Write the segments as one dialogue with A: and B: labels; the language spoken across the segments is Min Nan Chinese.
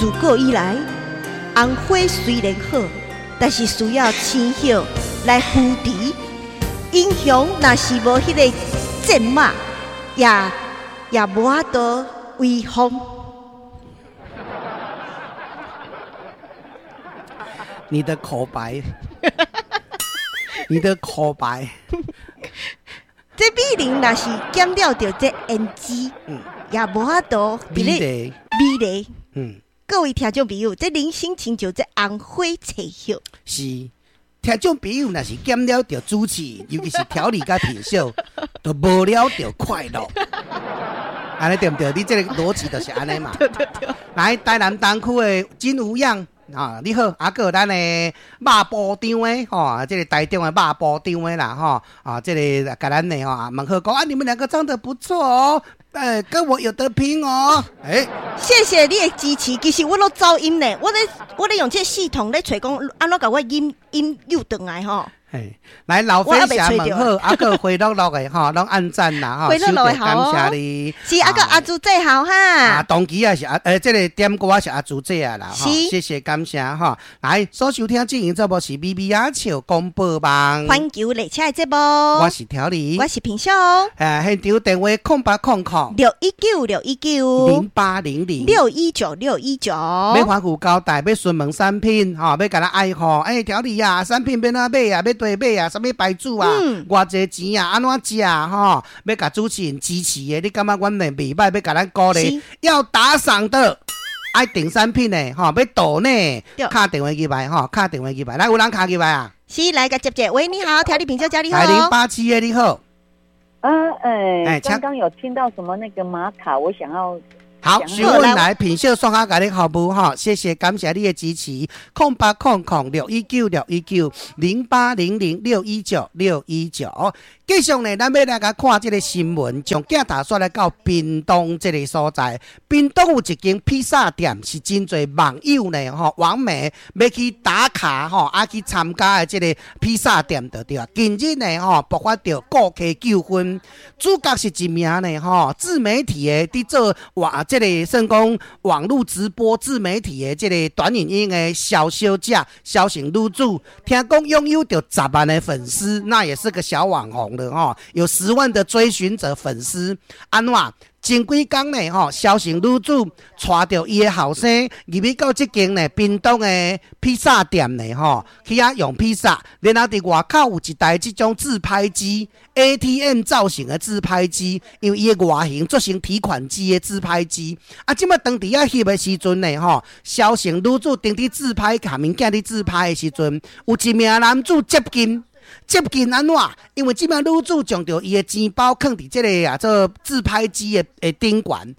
A: 自古以來，紅花雖然好，但是需要青葉來扶持。英雄若是無彼个戰馬，也無法度威風。
B: 你的口白，你的口白，
A: 這美人若是減了著這胭脂，也無法度
B: 美麗，
A: 美麗。各位聽眾朋友，這人生親像這紅花青葉。
B: 是，聽眾朋友若是減了著主持，尤其是調理佮品秀，就無了著快樂。按呢對毋對？你這个邏輯就是按呢嘛。
A: 對對對。
B: 來，台南東區的金無恙啊，你好，啊，閣有咱的肉埔張的吼，這个台中的肉埔張的啦吼，啊，這个共咱的吼，問好講啊，你們兩個長得不錯哦，跟我有得拼哦，欸，
A: 謝謝你的支持。其實我攏走音呢，我咧用這個系統咧揣講，按怎共我音音又轉來吼。
B: 嘿，來老飛俠問好，啊閣回樂樂的吼，攏按讚啦吼，
A: 回樂樂的好，
B: 感謝你。
A: 是啊閣阿朱姐好哈。
B: 啊，當機也是阿，這个點歌是阿朱姐啊啦，吼，謝謝感謝吼。來，所收聽進行節目是咪咪仔笑廣播網，
A: 環球列車的節目。
B: 我是調理，
A: 我是平秀。
B: 現場電話0800
A: 619 619
B: 0800
A: 619 619。
B: 欲反復交代，欲詢問產品，吼，欲共咱愛護，欸，調理啊，產品欲按怎買啊，欲佗買啊，啥物牌子啊，偌濟錢啊，按怎食吼？欲共主持人支持的，你感覺阮的袂䆀，欲共咱鼓勵，要打賞的，愛訂產品的，吼，欲抖內，敲電話入來，吼，敲電話入來，來，有人敲入來啊？
A: 是，來共接者，喂，你好，調理品酒家你好。
B: 來087的你好。
C: 啊，欸，剛剛有聽到什麼那個瑪卡，我想要。
B: 好，詢問來品秀送下共你服務吼，謝謝感謝你的支持。0800 619 619 0800 619 619。繼續呢，咱欲來共看這个新聞，將鏡頭煞來到屏東這个所在。屏東有一間披薩店，是真濟網友呢吼，網媒欲去打卡吼，啊去參加的這个披薩店就對啊。近日呢吼，爆發著顧客糾紛，主角是一名呢吼自媒體的佇做哇這个算講網路直播自媒體的這个短影音的蕭小姐，蕭姓女子，聽講擁有著10萬的粉絲，那也是個小網紅了吼，有10萬的追尋者粉絲。按怎？前幾工呢吼，蕭姓女子帶著伊的後生入去到這間呢屏東的披薩店呢吼，去遐用披薩，然後佇外口有一台這種自拍機 ATM 造型的自拍機，因為伊的外形做成提款機的自拍機。啊，這擺當佇遐翕的時陣呢吼，蕭姓女子當佇自拍，共物件佇自拍的時陣，有一名男子接近。接近按怎？因為這名女子將著伊的錢包囥佇這个啊做自拍機的頂懸，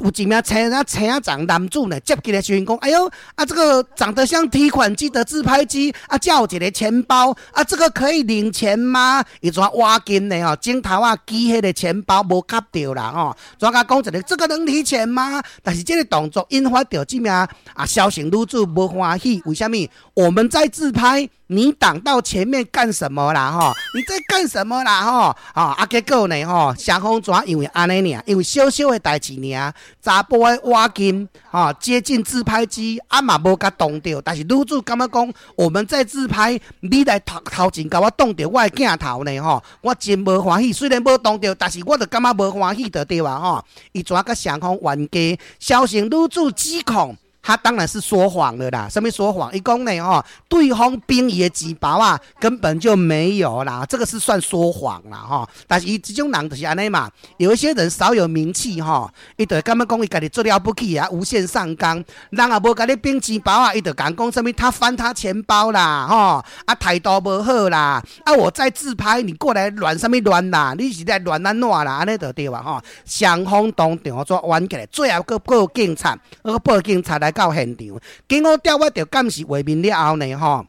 B: 有一名青仔青仔長男子呢接近的時陣講：哎喲，啊這個長得像提款機的自拍機，啊這有一個錢包，啊這個可以領錢嗎？伊怎挖近呢？吼，鏡頭仔舉彼个錢包無夾著啦吼，怎共講一个這個能提錢嗎？但是這个動作引發著這名啊蕭姓女子無歡喜，為啥物？我們在自拍。你擋到前面幹什麼啦？吼，你在幹什麼啦？吼，啊，結果呢？吼，雙方怎因為按呢爾，因為小小的代誌爾，查埔的倚近，吼，接近自拍機，啊嘛無共擋著，但是女子感覺講我們在自拍，你來頭頭前共我擋著我的鏡頭呢？吼，我真無歡喜。雖然無擋著，但是我就感覺無歡喜就對啊！吼，伊怎共雙方冤家，蕭姓女子指控。他當然是說謊了啦，啥物說謊？伊講呢吼，對方抃伊的錢包啊，根本就沒有啦，這個是算說謊啦吼。但是伊這種人就是按呢嘛，有一些人少有名氣吼，伊就會感覺講伊家己做了不起啊，無限上綱。人也無共你抃錢包啊，伊就共講啥物他翻他錢包啦，吼，啊態度無好啦，啊我在自拍，你過來亂啥物亂啦？你是在亂按怎啦？按呢就對啊吼。雙方當場煞冤起來，最後閣報警察，閣報警察來到現場，經過調閱著監視畫面了後呢，吼，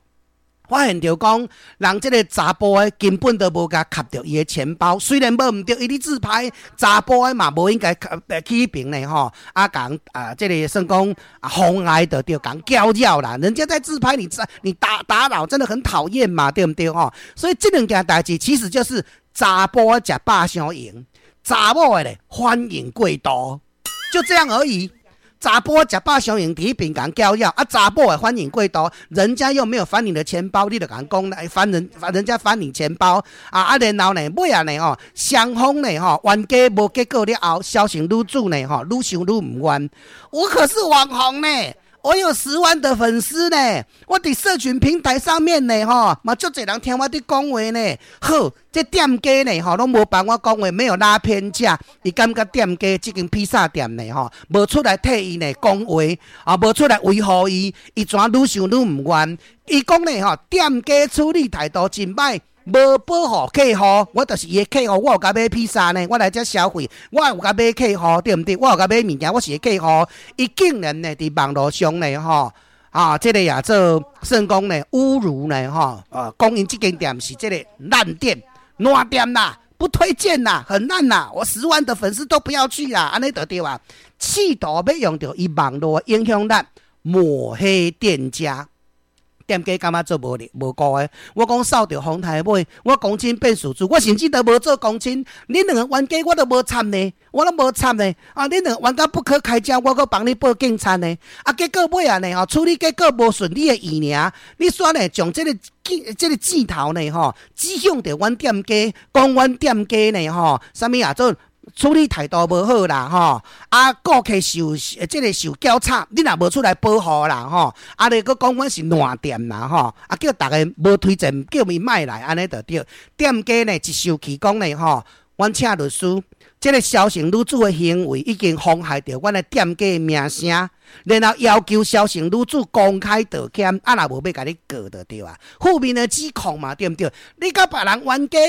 B: 發現著講，人這个查埔的根本都無共磕著伊的錢包，雖然無毋對，伊佇自拍，查埔的嘛無應該去彼爿呢，吼，啊，共啊，這个算講啊，妨礙著對，共攪擾啦。人家在自拍，你打擾，真的很討厭嘛，對毋對吼？所以這兩件代誌其實就是查埔的食飽傷閒，查某的咧反應過度，就這樣而已。查埔食飽傷閒佇彼邊共攪擾，啊，查某的反應過度，人家又沒有翻你的錢包，你就共講來翻人，人家翻你錢包啊啊！然後呢，尾仔呢吼，雙方呢吼冤家無結果了後，蕭姓女子呢吼，愈想愈毋願。我可是網紅呢，我有10萬的粉絲呢，我佇社群平台上面呢吼，嘛足濟人聽我佇講話呢。好，這店家呢吼，攏無幫我講話，沒有拉偏架，伊感覺店家這間披薩店呢吼，無出來替伊呢講話，啊，無出來維護伊，伊怎愈想愈毋願。伊講呢吼，店家處理態度真歹。無保護客戶，我就是伊的客戶，我有共買披薩呢，我來遮消費，我有共買客戶，對毋對？我有共買物件，我是伊客戶。伊竟然呢，佇網路上呢，吼，啊，這個也做算講呢，侮辱呢，吼，講𪜶這間店是這個爛店、爛店啦，不推薦啦，很爛啦，我10萬的粉絲都不要去啦，按呢就對啊，試圖欲用著伊網路影響力抹黑店家。店家感覺做無力無辜的，我講掃著風颱尾，我公親變事主，我甚至都無做公親，恁兩個冤家我都無插呢，我攏無插呢。啊，恁兩個冤家不可開交，我閣幫你報警察呢。啊，結果尾仔呢吼，處理結果無順你的意爾，你煞呢將這個箭頭呢吼，指向著阮店家，講阮店家呢吼，啥物啊做？處理態度無好啦，吼！啊，顧客受這個受攪吵，你若無出來保護啦，吼！啊，你閣講阮是爛店啦，吼！啊，叫逐家無推薦，叫伊莫來，按呢就對。店家呢一受氣講呢，吼，阮請律師，這個蕭姓女子的行為已經妨害著阮的店家的名聲，然後要求蕭姓女子公開道歉，啊，若無欲共你告就對啊。負面的指控嘛，對毋對？你佮別人冤家。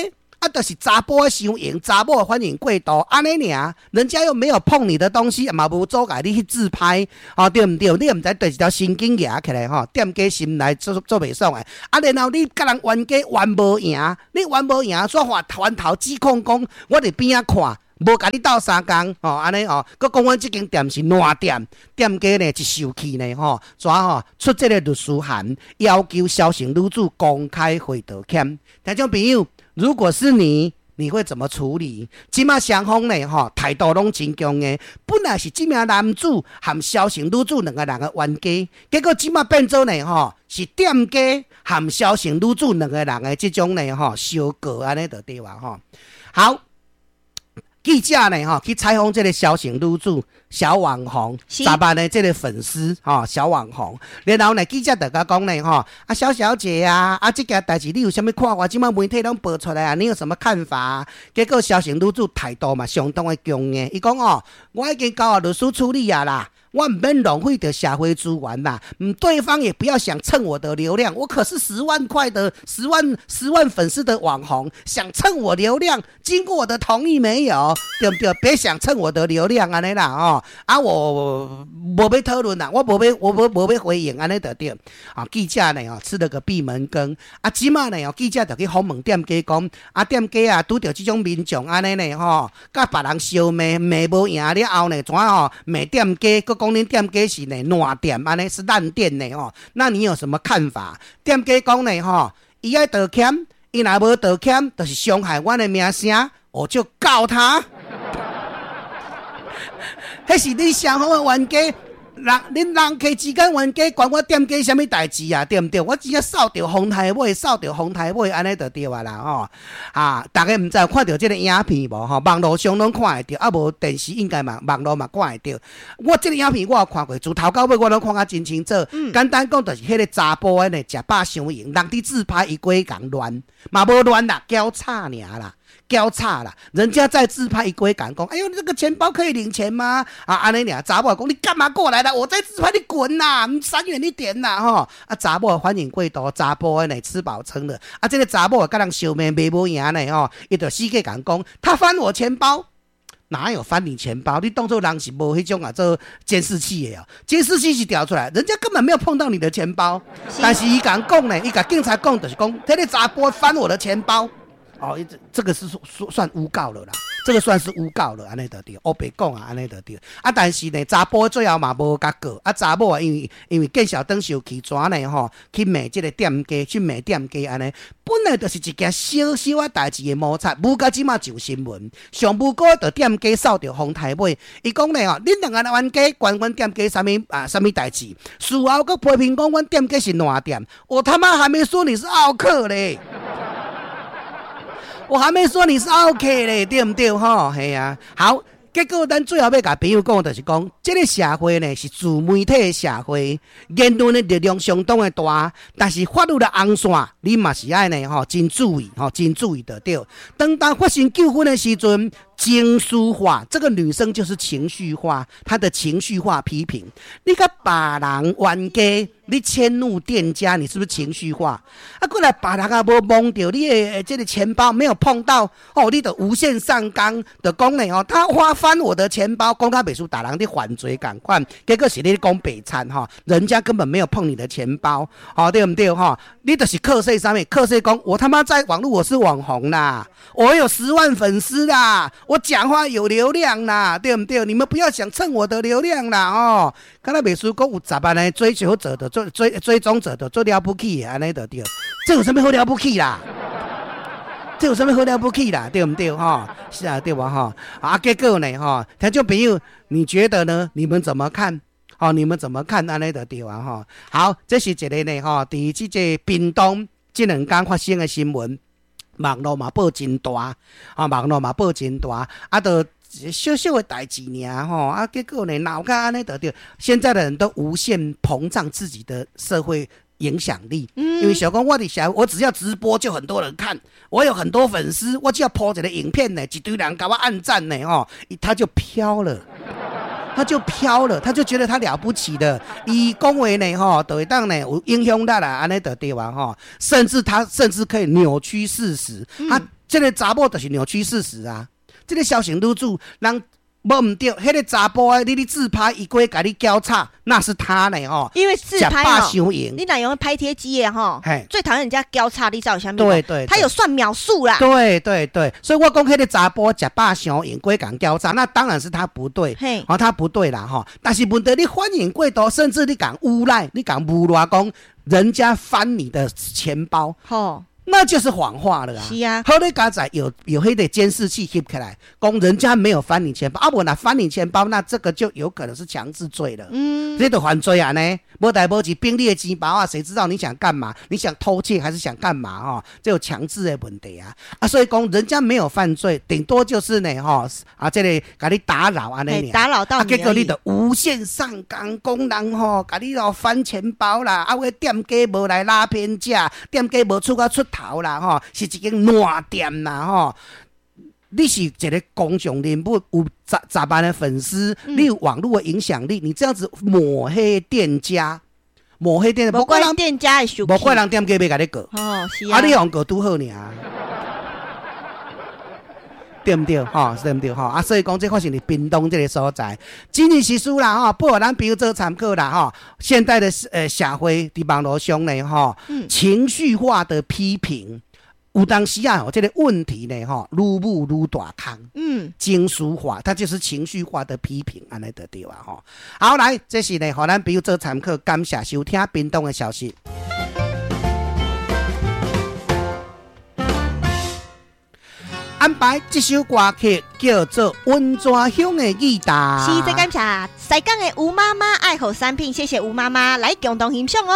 B: 啊，就是查埔的傷閒，查某的反應過度，按呢爾，人家又沒有碰你的東西，嘛無阻礙你去自拍，吼，對毋對？你也毋知對一條神經蜈起來吼，店家心內做做袂爽的。啊，然後你佮人冤家冤無贏，你冤無贏，煞反反頭指控講，我佇邊仔看，無共你鬥相共，吼，按呢吼，閣講阮這間店是爛店，店家呢一受氣呢，吼，怎吼出這個律師函，要求蕭姓女子公開回道歉。聽眾朋友，如果是你，你會怎麼處理？這馬雙方呢，吼，態度攏真強硬。本來是這名男子和蕭姓女子兩個人的冤家，結果這馬變做呢，吼，是店家和蕭姓女子兩個人的這種呢，吼，相告按呢就對啊，吼。好，記者呢，吼，去採訪這個蕭姓女子小網紅，10萬的這個粉絲，吼，小網紅。然後呢，記者就共講呢，吼，啊，蕭小姐啊，啊，這件代誌你有啥物看法？這馬媒體攏報出來啊，你有什麼看法？結果蕭姓女子態度嘛相當的強硬，伊講哦，我已經交予律師處理啊啦。我毋免浪費著社會資源啦，對方也不要想蹭我的流量，我可是10萬塊的10萬粉絲的網紅，想蹭我流量，經過我的同意沒有？對毋對？別想蹭我的流量按呢啦哦，啊我無欲討論啦，我無欲我無無欲回應按呢就對。啊記者呢哦吃了個閉門羹，啊這馬呢哦記者就去訪問店家講，啊店家啊拄著這種民眾按呢呢吼，共別人相罵罵無贏了後呢，怎吼罵店家，閣講恁店家是呢爛店，按呢是爛店呢吼，那你有什麼看法？店家講呢吼，伊愛道歉，伊若無道歉，就是傷害阮的名聲，我就告他。彼是恁雙方的冤家，人恁人客之間冤家，關我店家啥物代誌啊？對毋對？我只要掃著風颱尾，掃著風颱尾，按呢就對啊啦吼。啊，逐家毋知有看著這個影片無吼？網路上攏看會著，啊無電視應該嘛網路嘛看會著。我這個影片我有看過，自頭到尾我攏看甲真清楚。簡單講，就是彼個查埔的呢，食飽傷閒，人佇自拍，伊過去共亂，嘛無亂啦，攪吵爾啦。攪吵啦，人家在自拍，伊過去共講，哎喲，這個錢包可以領錢嗎？啊，按呢爾，查某講你幹嘛過來啦？我在自拍，你滾啦，你閃遠一點啦，吼！啊，查某反應過度，查埔的呢吃飽撐的，啊，這個查某共人相罵罵無贏呢，吼，伊就死過共講，他翻我錢包，哪有翻你錢包？你當做人是無彼種啊做監視器的哦，監視器是調出來，人家根本沒有碰到你的錢包，但是伊共講呢，伊共警察講就是講，這個查埔翻我的錢包。哦，這個是算誣告了啦。這個算是誣告了，按呢就對，烏白講啊，按呢就對。啊，但是呢，查埔最後嘛無共告，啊，查某啊，因為見小燈受氣，怎呢吼，去罵這個店家，去罵店家按呢，本來就是一件小小仔代誌的摩擦，無到這馬上新聞。上無辜的店家掃著風台尾，伊講呢吼，恁兩个冤家關阮店家啥物啊？啥物代誌？事後閣批評講阮店家是爛店，我他媽還沒說你是奧客咧。我還沒說你是奧客咧，對毋對？吼，係啊。好，結果咱最後欲共朋友講，就是講，這個社會呢是自媒體的社會，言論的力量相當的大，但是法律的紅線，你嘛是愛呢吼，真注意吼，真注意就對。當當發生糾紛的時陣，情緒化，這個女生就是情緒化，她的情緒化批評，你共別人冤家，你遷怒店家，你是不是情緒化？啊，過來別人也無摸著你的這個錢包，沒有碰到哦，你就無限上綱，就講呢吼，他挖翻我的錢包，講甲袂輸逐人咧犯罪仝款，結果是你講白賊吼，人家根本沒有碰你的錢包，吼，對毋對吼？你就是靠勢啥物？靠勢講我他媽在網路我是網紅啦，我有10萬粉絲啦，我講話有流量啦，對毋對？你們不要想蹭我的流量啦，哦，敢若袂輸講有10萬的追求者的追蹤者的做了不起的，按呢就對，這有啥物好了不起啦？這有啥物好了不起啦？對毋對？吼，是啊，對無吼？啊，結果呢？吼，聽眾朋友，你覺得呢？你們怎麼看？哦，你們怎麼看？按呢就對啊，吼。好，這是一個呢，吼，佇這個屏東這兩工發生的新聞，網路嘛報真大，啊，網路嘛報真大，啊，就小小的代誌爾吼，啊，結果呢鬧甲按呢就對。現在的人都無限膨脹自己的社會影響力，因為想講我佇社，我只要直播就很多人看，我有很多粉絲，我只要 po 一個影片呢，一堆人共我按讚呢，吼，他就飄了。他就飄了，他就覺得他了不起的。伊講話呢，吼，就會當呢有影響力啦，按呢就對啊，吼。甚至他甚至可以扭曲事實。啊，這個查某就是扭曲事實啊。這個蕭姓女子，人無毋對，彼個查埔的，你咧自拍，伊過共你交叉，那是他呢，吼。
A: 因為自拍
B: 哦，
A: 你若用拍貼機的吼，最討厭人家交叉，你知道啥物？
B: 對對，
A: 他有算秒數啦。
B: 對對對，所以我講彼個查埔食飽傷閒，過共交叉，那當然是他不對，哦，他不對啦，吼。但是問題你反應過度，甚至你共誣賴，你共誣賴講人家翻你的錢包，
A: 吼。
B: 那就是謊話了啊！
A: 是啊，
B: 好咧，佳哉有彼個監視器翕起來，講人家沒有翻你錢包，啊，無若翻你錢包，那這個就有可能是強制罪了。這就犯罪啊呢！無代無誌，反你的錢包啊，誰知道你想幹嘛？你想偷竊還是想幹嘛？吼，這有強制的問題啊！啊，所以講人家沒有犯罪，頂多就是呢，吼啊，這個共你打擾按呢，
A: 打擾到
B: 啊，結果你就無限上綱，講人吼，共你哦翻錢包啦，啊，有店家無來拉偏架，店家無出甲出頭啦，吼，是一間爛店啦，吼。你是一個公眾人物，有十萬的粉絲，你有網路的影響力，你這樣子抹黑店家，抹黑店家，
A: 無怪店家會生氣，
B: 無怪人店家欲共你告。
A: 哦，是啊，
B: 啊，你予人告拄好爾，對毋對？吼，對毋對？吼，啊，所以講這發生佇屏東這個所在，真人實事啦，吼，予咱朋友做參考啦，吼。現代的社會佇網路上呢，吼，情緒化的批評，有當時啊，這個問題呢，吼，愈舞愈大空。情緒化，它就是情緒化的批評，按呢就對啊，吼。好，來，這是呢，予咱朋友做參考，感謝收聽屏東的消息。安排這首歌曲叫做《溫泉鄉的吉他》。
A: 是，再感謝西港的吳媽媽愛護產品，謝謝吳媽媽來共同欣賞哦。